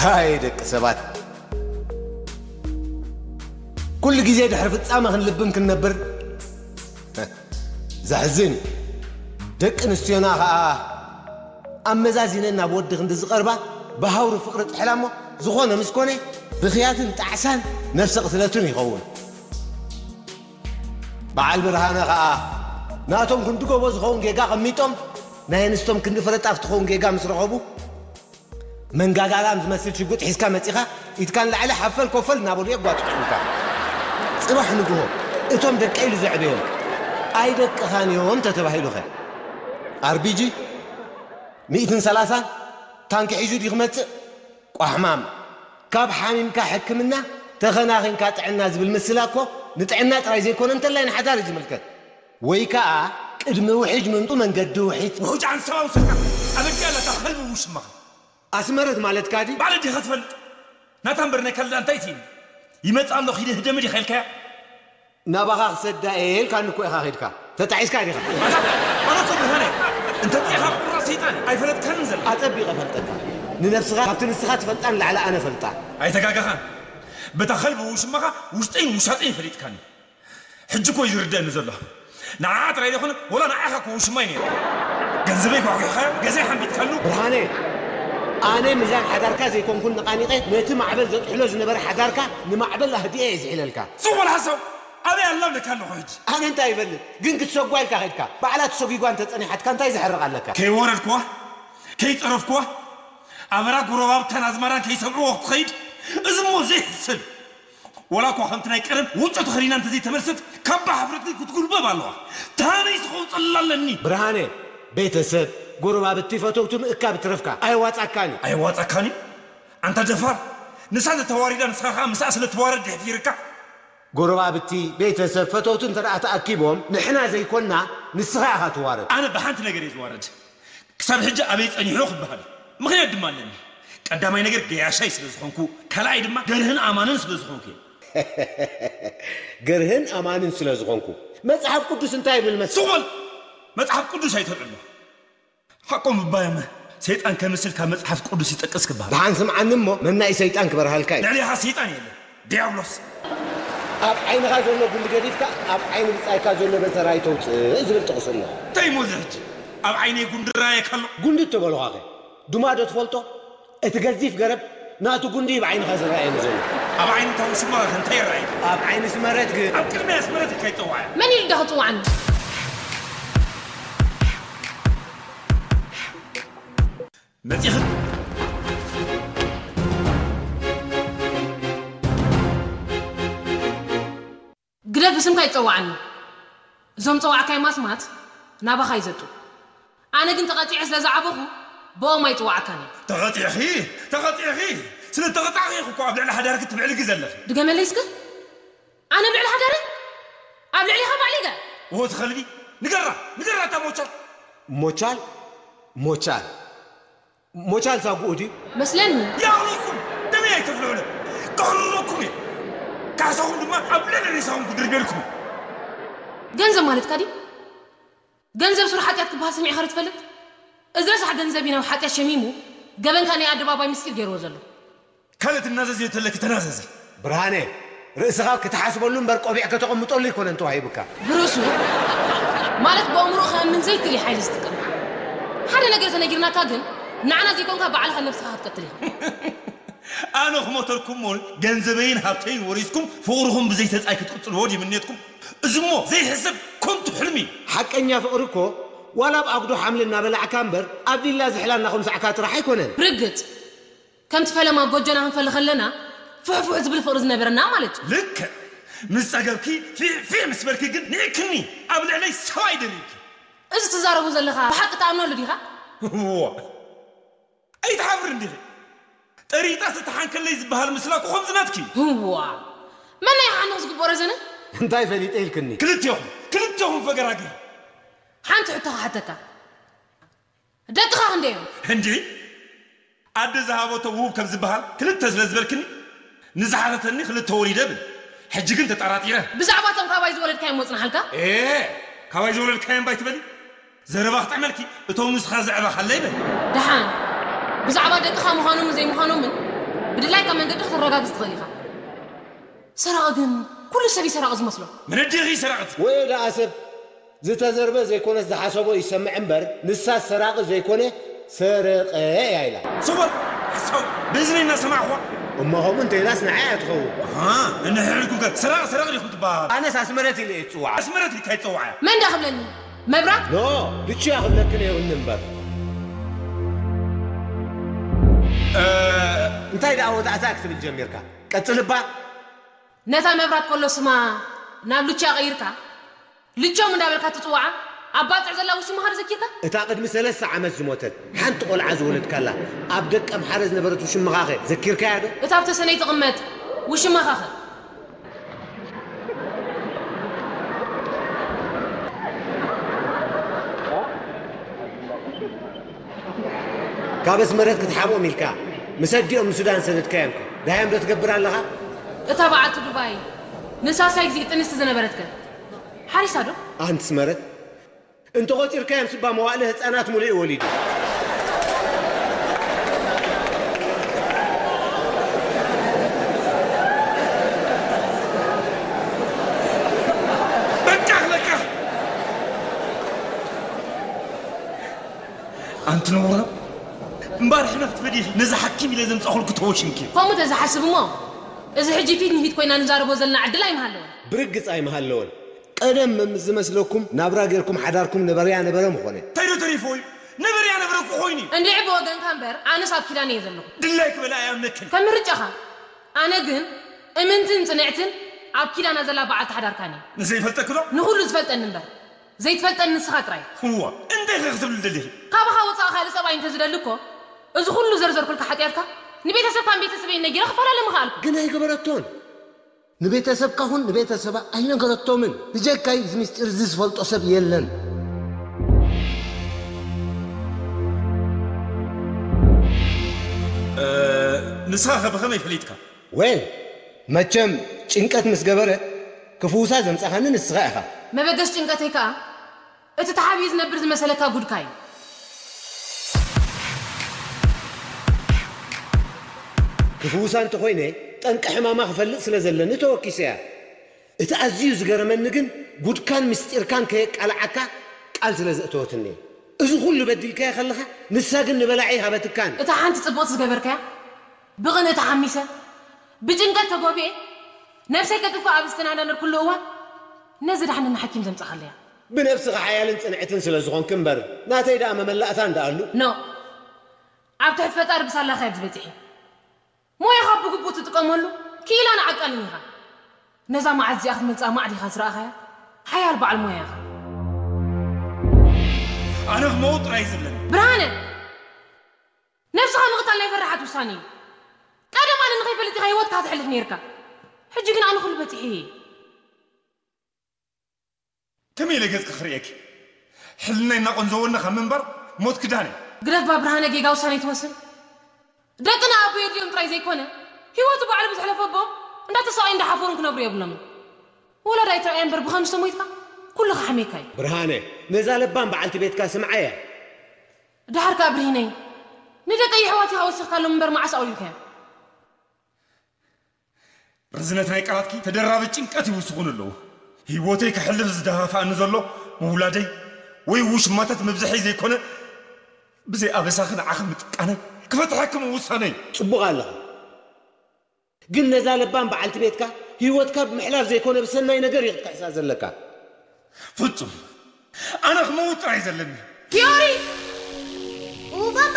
ሃይ ደቂ ሰባት፣ ኩሉ ግዜ ድሕሪ ፍጻመ ክንልብም ክንነብር ዘሕዝን እዩ። ደቂ ኣንስትዮና ኸኣ ኣመዛዚነን ናብ ወዲ ክንዲ ዝቐርባ ብሃውሪ ፍቕሪ ጥሕላ እሞ፣ ዝኾነ ምስ ኮነ ብኽያትን ጣዕሳን ነፍሰ ቅትለትን ይኸውን። በዓል ብርሃነ ኸኣ ናቶም ክንዲ ጎቦ ዝኸውን ጌጋ ቐሚጦም፣ ናይ ኣንስቶም ክንዲ ፍረጣፍ ትኸውን ጌጋ ምስ ረኸቡ፣ መንጋጋ ላም ዝመስል ሽጉጥ ሒዝካ መጺኻ፣ ኢድካ ንላዕሊ ሓፈል ኮፈል እናበሉ የጓጥጡልካ። ጽባሕ ንግሆ እቶም ደቀይ ኢሉ ዘዕበዮም ኣይደቅኻን እዮም ተተባሂሉኸ? ኣርቢጂ ሚእትን ሰላሳን ታንኪ ሒዙ ድዩ ክመጽእ? ቋሕማም። ካብ ሓሚምካ ሕክምና፣ ተኸናኺንካ ጥዕና ዝብል ምስላ እኮ ንጥዕና ጥራይ ዘይኮነ እንተላይ ንሓዳር እዩ ዝምልከት። ወይ ከኣ ቅድሚ ውሒጅ ምምጡ መንገዲ ውሒጅ። ውሑጅ ዓንሰባ ውሰድካ ኣበጃ ኣለታ ከልቢ ውሽማኻ። ኣስመረት ማለትካ ድዩ? ባዕለ ዲኻ ትፈልጥ? ናታ እምበር ናይ ካልእ እንታይ ትይኒ? ይመጽእ ኣሎ ኺደ ህደሚ ዲኻ ኢልካያ? ናባኻ ክሰዳ እየ ኢልካኒ እኮ ኢኻ ኸይድካ። ተጣዒስካ ዲኻ? ኣታ፣ ኣነ እኮ ብርሃነ፣ እንተ ጽኻ ቁራጽ ሰይጣን ኣይፈለጥካንን ዘለኻ። ኣጸቢቐ እፈልጠካ። ንነብስኻ ካብቲ ንስኻ ትፈልጣ ንላዕሊ ኣነ እፈልጣ። ኣይተጋገኻን። በታ ከልቢ ውሽማኻ ውሽጠይን ውሻጠይን ፈሊጥካኒ። ሕጂ እኮ እዩ ዝርደአኒ ዘሎ። ንዓኣ ጥራይ ዘይኮነ፣ ወላ ንዓኻ እኮ ውሽማይ ነይሩ። ገንዘበይ ጓጒሕካዮ፣ ገዛይ ሓንቢጥካሉ። ብርሃነ፣ ኣነ ሚዛን ሓዳርካ ዘይኮንኩን ነቓኒቐ፣ ነቲ ማዕበል ዘጥሕሎ ዝነበረ ሓዳርካ ንማዕበል ኣህዲኤ እየ ዝሒለልካ። ጽቡቕ ሓሳብ። ኣበይ ኣላ ብለካ ኣለኹ ሕጂ? ኣነ እንታይ ይፈልጥ? ግን ክትሰጓ ኢልካ ኸድካ። ባዕላ ተሰጒጓ እንተጸኒሓትካ እንታይ ዘሕርቕ ኣለካ? ከይወረድኩዋ፣ ከይጸረፍኩዋ፣ ኣበራ ጎረባብታን ኣዝማዳን ከይሰምዕዎ ክትኸይድ፣ እዚ እሞ ዘይሕሰብ። ወላ እኳ ከምቲ ናይ ቀደም ወጮ ተኸዲና እንተዘይተመልሰት፣ ካባ ሓፍረት ግን ክትጉልበብ ኣለዋ። ታበይ ዝኸውፀላ ኣለኒ? ብርሃነ፣ ቤተሰብ፣ ጎረባብቲ፣ ፈተውቲ ምእካብ ትረፍካ። ኣየዋጻካን እዩ። ኣየዋጻካን እዩ? ኣንታ ደፋር፣ ንሳ እንተ ተዋሪዳ ንስኻ ኸኣ ምስኣ ስለ ትዋረድ ድሕፊርካ? ጎረባብቲ፣ ቤተሰብ፣ ፈተውቲ እንተ ደኣ ተኣኪቦም፣ ንሕና ዘይኮንና፣ ንስኻ ኢኻ ትዋረድ። ኣነ ብሓንቲ ነገር እየ ዝዋረድ። ክሳብ ሕጂ ኣበይ ጸኒሑ ክበሃል እዩ። ምኽንያት ድማ ኣለኒ። ቀዳማይ ነገር ገያሻይ ስለ ዝኾንኩ፣ ካልኣይ ድማ ገርህን ኣማንን ስለ ዝኾንኩ እየ። ገርህን ኣማንን ስለ ዝኾንኩ። መጽሓፍ ቅዱስ እንታይ ይብል መስ- ስቕ በል! መጽሓፍ ቅዱስ ኣይተልዕሎ። ሓቆም እባ እዮመ፣ ሰይጣን ከምስል ካብ መጽሓፍ ቅዱስ ይጠቅስ ክበሃል። ደሓን ስምዓኒ እሞ፣ መናኢ ሰይጣን ክበርሃልካ እዩ። ልዕሌኻ ሰይጣን የለን፣ ዲያብሎስ። ኣብ ዓይንኻ ዘሎ ጉንዲ ገዲፍካ፣ ኣብ ዓይኒ ብጻይካ ዘሎ በሰር ኣይተውጽእ ዝብል ጥቕሲ ኣሎ። እንታይ እሞ እዚ ሕጂ? ኣብ ዓይነይ ጉንዲ ይረኣየካ ኣሎ? ጉንዲ እተበልኳኸ? ዱማ ዶ ትፈልጦ? እቲ ገዚፍ ገረብ ናቱ ጉንዲ እዩ ብዓይንኻ ዝረኣየኒ ዘሎ። ኣብ ዓይኒ እታ ውሽማኸ እንታይ ይረኣየካ? ኣብ ዓይኒ ስመረት ግን ኣብ ቅድሚያ ስመረት ኢልካ ይጸዋዕ። መን ኢሉ ደኣ ክጽዋዕኒ? መጺኽን? ግደፍ፣ ብስምካ ይጸዋዕኒ። እዞም ጸዋዕካዮም ኣስማት ናባኻ ይዘጡ። ኣነ ግን ተቐጺዐ ስለ ዝዓበኹ ብኦም ኣይጽዋዓካን እየ። ተቐጺዕኺ፣ ተቐጺዕኺ። ስለ ተቐጻዕኺ ኢኺ እኮ ኣብ ልዕሊ ሓዳርኪ ትብዕልጊ ዘለኺ። ድገመለይ እስከ። ኣነ ኣብ ልዕሊ ሓዳረይ? ኣብ ልዕሊኻ ባዕሊገ? ወ ትኸልቢ። ንገራ፣ ንገራ እታ ሞቻል። ሞቻል? ሞቻል? ሞቻል ሳጉኡ ድዩ? መስለኒ። ይኣኽለኩም! ደመይ ኣይተፍልሑለ! ከሕርረኩም እየ! ካሕሳኹም ድማ ኣብ ልዕሊ ሬሳኹም ክድርብየልኩም እየ! ገንዘብ ማለትካ ድዩ? ገንዘብ ሱር ሓጢኣት ክበሃል ሰሚዕኻ ዶ ትፈልጥ? እዚ ረሳሕ ገንዘብ እዩ ናብ ሓጢኣት ሸሚሙ፣ ገበንካ ናይ ኣደባባይ ምስጢር ገይርዎ ዘሎ። ካልእ ትናዘዝዮ ተለኪ ተናዘዚ። ብርሃነ፣ ርእስኻ ክትሓስበሉ እምበር ቆቢዕ ከተቐምጠሉ ኣይኮነን ተዋሂቡካ። ብርእሱ ማለት ብኣእምሮኡ ከእምን ዘይክእል እዩ ሓይሊ ዝጥቀም። ሓደ ነገር ተነጊርናካ ግን ንዓና ዘይኮንካ ባዕልኻ ነብስኻ ክትቀትል ኢኻ። ኣነ ክሞተልኩም እሞ ገንዘበይን ሃብተይን ወሪስኩም ፍቕርኹም ብዘይ ተጻይ ክትቅጽልዎ ድዩ ምንየትኩም? እዚ እሞ ዘይሕሰብ ከንቱ ሕልሚ እዩ። ሓቀኛ ፍቕሪ እኮ ዋላ ኣብ ኣጉዶ ሓምሊ እናበላዕካ እምበር ኣብ ቪላ ዝሕላ እናኹምሳዕካ ጥራሕ ኣይኮነን። ርግጽ። ከምቲ ፈለማ ጎጆና ክንፈሊ ከለና ፍሕፉሕ ዝብል ፍቕሪ ዝነበረና ማለት እዩ። ልክዕ። ምስ ጸገብኪ ፊዕ ፊዕ ምስ በልኪ ግን ንዒክኒ ኣብ ልዕለይ ሰብኣይ ደሪብኪ። እዚ ትዛረቦ ዘለኻ ብሓቂ ትኣምነሉ ዲኻ? እዋ። ኣይትሓፍርን ዲኺ? ጠሪጣስ እታ ሓንከለይ ዝበሃል ምስላ እኮ ከምዚ ናትኪ እዩ። እዋ። መን ናይ ሓንኽ ዝግብኦ ረዘነ? እንታይ ፈሊጠ ኢልክኒ? ክልቴኹም፣ ክልቴኹም ፈገራገር። ሓንቲ ሕቶ ክሓተካ። ደቅኻ ክንደይ እዮም? እንዲ ኣደ ዝሃበቶ ውሁብ ከም ዝበሃል ክልተ ስለ ዝበልክኒ፣ ንዝሓተተኒ ክልተ ወሊደ ብል። ሕጂ ግን ተጠራጢረ። ብዛዕባ እቶም ካባይ ዝወለድካዮም መጽናሓልካ? ኤ፣ ካባይ ዝወለድካዮም ባይ ትበሊ? ዘረባ ክጥዕመልኪ፣ እቶም ንስኻ ዘዕበኻለይ በል። ደሓን፣ ብዛዕባ ደቅኻ ምዃኖምን ዘይምዃኖምን ብድላይካ መንገዲ ከተረጋግጽ ትኽእል ኢኻ። ሰራቒ ግን ኩሉ ሰብ እዩ ሰራቒ ዝመስሎ። መነዴኺ ሰራቕት። ወዮ ደኣ ሰብ ዝተዘርበ ዘይኮነስ ዝሓሰቦ ይሰምዕ እምበር፣ ንሳ ሰራቒ ዘይኮነ ሰረቐ እያ ኢላ። ሰወር ሓሳው በዝኒ እናሰማዕኳ። እሞ ከምኡ እንተኢላስ ንዓይ እያ ትኸውን። ንሕልኩም ከ ሰራቕ ሰራቕ ዲኹም ትበሃል? ኣነስ ኣስመረት ኢለ እየ ዝፅዋዓ። ኣስመረት ኢልካ ይፀዋዕ እያ። መን ዳ ክብለኒ? መብራት? ኖ፣ ልቹ እያ ክብለክን እየ እውኒ እምበር። እንታይ ደኣ ወዳእታ ክትብል ጀሚርካ? ቀፅልባ። ነታ መብራት ከሎ ስማ ናብ ሉቻ ቀይርካ ልቾም እንዳበልካ ትፅዋዓ ኣብ ባፅዕ ዘላ ውሽማኻ ዶ ዘኪርካ? እታ ቅድሚ ሰለስተ ዓመት ዝሞተት ሓንቲ ቆልዓ ዝወለድካላ ኣብ ደቀምሓረ ዝነበረት ውሽማኻኸ ዘኪርካያ ዶ? እታ ኣብ ተሰነይ ትቕመጥ ውሽማኻኸ? ካብ ኣስመረት ክትሓብኦም ኢልካ ምስ ኣዲኦም ንሱዳን ሰደድካዮምከ ደሃዮም ዶ ትገብር ኣለኻ? እታ በዓልቲ ዱባይ ንሳሳይ ግዜ ጥንስቲ ዝነበረትከ ሓሪሳ ዶ? ኣንቲ ኣስመረት እንተቖጺርካዮም ስባ መዋእለ ህጻናት ሙሉእ እዩ ወሊዱ። በቃ በቃ ኣንቲ ነውራ እምባር ሕነ ክትበዲ ነዚ ሓኪም ኢለ ዘምፃኹልኩ ተወሽምኪ ከምኡ ተዝሓስብ እሞ እዚ ሕጂ ፊት ንፊት ኮይና ንዛረቦ ዘለና ዕድል ኣይምሃለወን ብርግፅ ኣይምሃለወን ቀደም ምስ ዝመስለኩም ናብራ ጌርኩም ሓዳርኩም ነበረያ ነበረ ምኾነ እንታይ ዶ ተሪፎ እዩ ነበረያ ነበረ እኮ ኮይኑ እዩ እንድዒ ብወገንካ እምበር ኣነስ ኣብ ኪዳን እየ ዘለኹ ድላይ ክበላ ኣይኣምነክን ከም ምርጫኻ ኣነ ግን እምንትን ፅንዕትን ኣብ ኪዳና ዘላ በዓልቲ ሓዳርካን እየ ንዘይፈልጠኪ ዶ ንኹሉ ዝፈልጠኒ እምበር ዘይትፈልጠኒ ንስኻ ጥራይ። እዋ እንታይ ኢኺ ክትብሊ ደሊኺ? ካባኻ ወጻኢ ካልእ ሰብኣይ እንተዝደሊ እኮ እዚ ኩሉ ዘርዘርኩልካ ሓጥያትካ ንቤተሰብካን ቤተሰበይን ነጊረ ክፈላለ ምኸኣልኩ። ግን ኣይገበረቶን። ንቤተሰብካ ኹን ንቤተሰባ ኣይነገረቶምን። ብጀካይ እዚ ምስጢር እዚ ዝፈልጦ ሰብ የለን። ንስኻ ኸ ብኸመይ ፈሊጥካ? ዌል መቸም ጭንቀት ምስ ገበረት ክፍውሳ ዘምጻኻኒ ንስኻ ኢኻ። መበገስ ጭንቀተይ ከኣ እቲ ተሓቢኡ ዝነብር ዝመሰለካ ጉድካ እዩ። ክፍውሳ እንተኾይነ ጠንቂ ሕማማ ክፈልጥ ስለ ዘለኒ ተወኪሰያ። እቲ ኣዝዩ ዝገረመኒ ግን ጉድካን ምስጢርካን ከየቃልዓካ ቃል ስለ ዘእተወትኒ እዩ። እዚ ኩሉ በዲልካያ ከለኻ ንሳ ግን ንበላዒ ሃበትካን። እታ ሓንቲ ጽቡቕቲ ዝገበርካያ ብቕንኢ ተሓሚሰ ብጭንቀት ተጎብኤ ነብሰይ ከጥፍእ ኣብ ዝተናዳነርኩሉ እዋን ነዚ ዳሕነኒ ሓኪም ዘምጻኻለያ። ብነብስኺ ሓያልን ጽንዕትን ስለ ዝኾንኪ እምበር ናተይ ደኣ መመላእታ እንድኣሉ። ኖእ! ኣብ ትሕቲ ፈጣሪ ብሳላኻ እያ ዝበጺሐ። ሞያኻ ብግቡእ ትጥቀመሉ ክኢላን ዓቃልን ኢኻ። ነዛ መዓት እዚኣ ክትመጽኣ ማዕዲኻ ዝረኣኻያ ሓያል በዓል ሞያ ኢኻ። ኣነ ክመውት ጥራይ ዝብለኒ። ብርሃነ! ነብስኻ ምቕታል ናይ ፈራሓት ውሳነ እዩ። ቀደም ኣነ ንኸይፈልጥ ኢኻ ህይወትካ ተሕልፍ ነይርካ። ሕጂ ግን ኣነ ኩሉ በጺሐ እየ። ከመይ ኢለ ገጽኪ ክርእየኪ? ሕልናይ እናቖንዘወኒ ካብ ምንባር ሞት ክዳን እዩ። ግደፍ እባ ብርሃነ ጌጋ ውሳነ ኣይትወስን። ደቅና ኣቦ የድልዮም ጥራይ ዘይኮነ ህይወቱ ባዕሉ ብዝሕለፈ ኣቦኦም እንዳተሳቐዩ እንዳሓፈሩን ክነብሩ የብሎምን። ወላዲ ኣይትርኣዮ እምበር ብኸምዚ ተሞይትካ ኩሉ ክሓምየካ እዩ። ብርሃነ ነዛ ለባም በዓልቲ ቤትካ ስምዓያ። ደሓር ከኣ ብርሂነይ ንደቀይ የሕዋት ኢኻ ወሲኽካሎም እምበር መዓስ ኣውሪድካዮም? ርዝነት ናይ ቃላትኪ ተደራቢ ጭንቀት ይውስኹኒ ኣለዉ። ህይወተይ ከሕልፍ ዝደፋፍኣኒ ዘሎ ምውላደይ ወይ ውሽማታት ምብዝሐይ ዘይኮነ ብዘይ ኣበሳኺ ንዓኺ ምጥቃነይ ክፈትሐኪ ምውሳነይ። ጽቡቕ ኣለኻ። ግን ነዛ ለባም በዓልቲ ቤትካ ህይወትካ ብምሕላፍ ዘይኮነ ብሰናይ ነገር እዩ ክትክሕሳ ዘለካ። ፍጹም ኣነ ክመውት ጥራይ ዘለኒ። ፊዮሪ! ኡ ባባ!